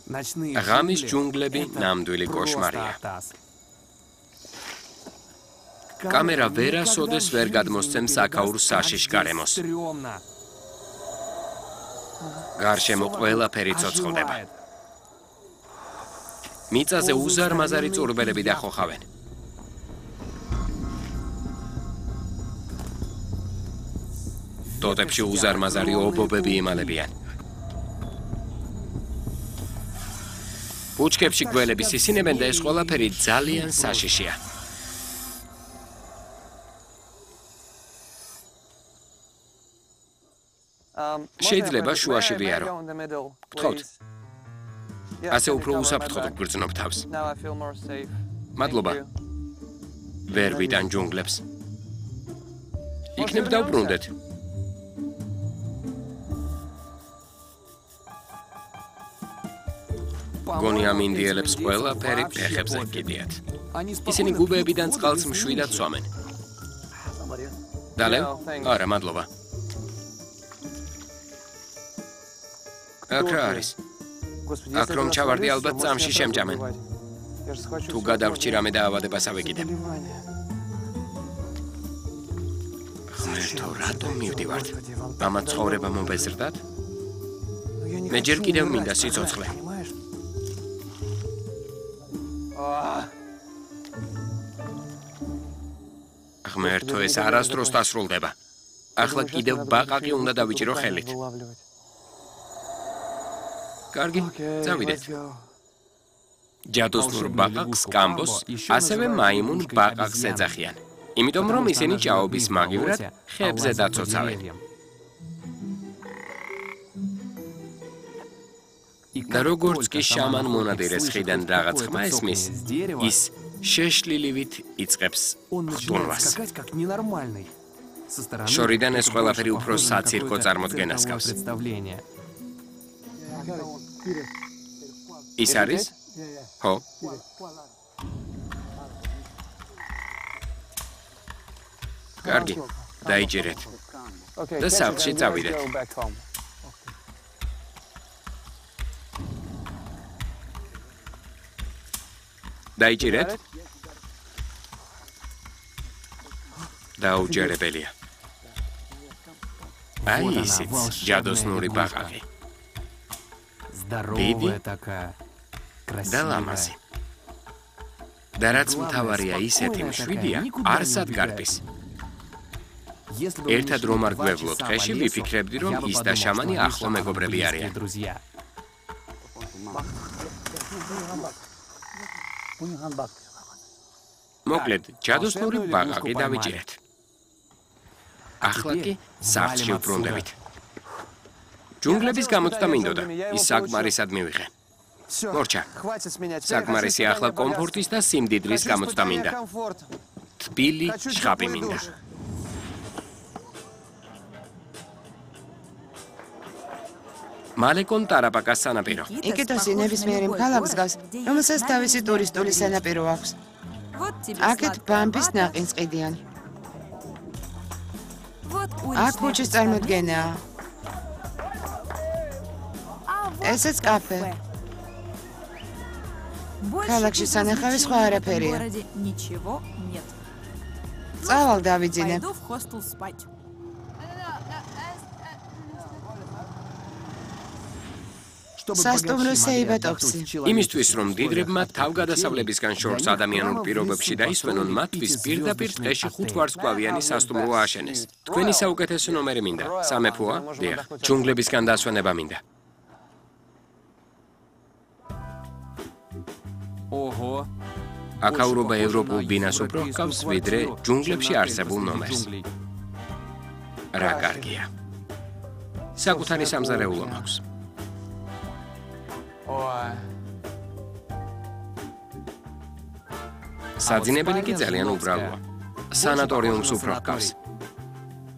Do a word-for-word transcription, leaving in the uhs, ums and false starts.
ღამის ჯუნგლები ნამდვილი კოშმარია. კამერა ვერასოდეს ვერ გადმოსცემს აქაურ საშიშ გარემოს. გარშემო ყველაფერი ცოცხლდება. მიწაზე უზარმაზარი წურბელები დახოხავენ. ტოტებში უზარმაზარი ობობები იმალებიან. ბუჩქებში გველები სისინებენ და ეს ყველაფერი ძალიან საშიშია. შეიძლება შუაში ვიარო. გთხოვთ. ასე უფრო უსაფრთხოდ გვგრძნობ თავს. მადლობა. ვერ ვიტან ჯუნგლებს. იქნებ დავბრუნდეთ. გონი ამ ინდიელებს ყველაფერი ფეხებზე გიდიათ. ისინი გუბეებიდან წყალს მშვიდად სვამენ. დალევ? არა, მადლობა. აქ რა არის? აქ რომ ჩავარდი ალბათ წამში შემჭამენ. თუ გადავრჩი რამე დაავადებას ავეკიდებ. ღმერთო, რატომ მივდივართ? ამა ცხოვრება მომბეზრდათ? მე ჯერ კიდევ მინდა სიცოცხლე. ღმერთო, ეს არასდროს დასრულდება. ახლა კიდევ ბაყაყი უნდა დავიჭირო ხელით. კარგი, წავიდეთ. ჯადოსნურ ბაყაყს კამბოს, ასევე მაიმუნ ბაყაყს ეძახიან. იმიტომ რომ ისინი ჭაობის მაგივრად ხეებზე დაცოცავენ. და როგორც კი შამან მონადირეს ხიდან რაღაც ხმა ესმის, ის შეშლილივით იწყებს ხტუნვას. შორიდან ეს ყველაფერი უფრო საცირკო წარმოდგენას გავს. ის არის? ხო. კარგი, დაიჭირეთ. და სახლში წავიდეთ. დაიჭირეთ? დაუჯერებელია. აი ისიც ჯადოსნური ბაყაყი. დიდი და ლამაზი. და რაც მთავარია ისეთი მშვიდია, არსად გარბის. ერთად რომ არ გვევლოთ ხეში, ვიფიქრებდი, რომ ის და შამანი ახლო მეგობრები არიან. მოკლედ, ჯადოსნური ბაყაყი დავიჭირეთ. ახლა კი სახლში ვბრუნდებით. ჯუნგლების გამოცდა მინდოდა, ის საკმარისად მივიღე. მორჩა, საკმარისი ახლა კომფორტის და სიმდიდრის გამოცდა მინდა. თბილი შხაპი მინდა. მალეკონ ტარაპაკას სანაპირო. იკეტოსი ნებისმიერი ქალაქს გავს, რომელსაც თავისი ტურისტული სანაპირო აქვს. აქეთ ბამბის ნაყინს ყიდიან. აქ ქუჩის წარმოდგენაა. ესეც კაფე. ქალაქში სანახავი სხვა არაფერია. წავალ დავიძინებ. სასტუმრო სეიბატოფსი. იმისთვის, რომ დიდრებმა თავგადასავლებისგან შორს ადამიანურ პირობებში დაისვენონ, მათთვის პირდაპირ ტყეში ხუთვარსკვლავიანი სასტუმრო ააშენეს. თქვენი საუკეთესო ნომერი მინდა. სამეფოა? დიახ. ჯუნგლებისგან დასვენება მინდა. ოჰო. აქაურობა ევროპულ ბინას უფრო ჰგავს, ვიდრე ჯუნგლებში არსებულ ნომერს. რა კარგია. საკუთარი სამზარეულო მაქვს. საძინებელი კი ძალიან უბრალოა. სანატორიუმს უფრო ჰგავს.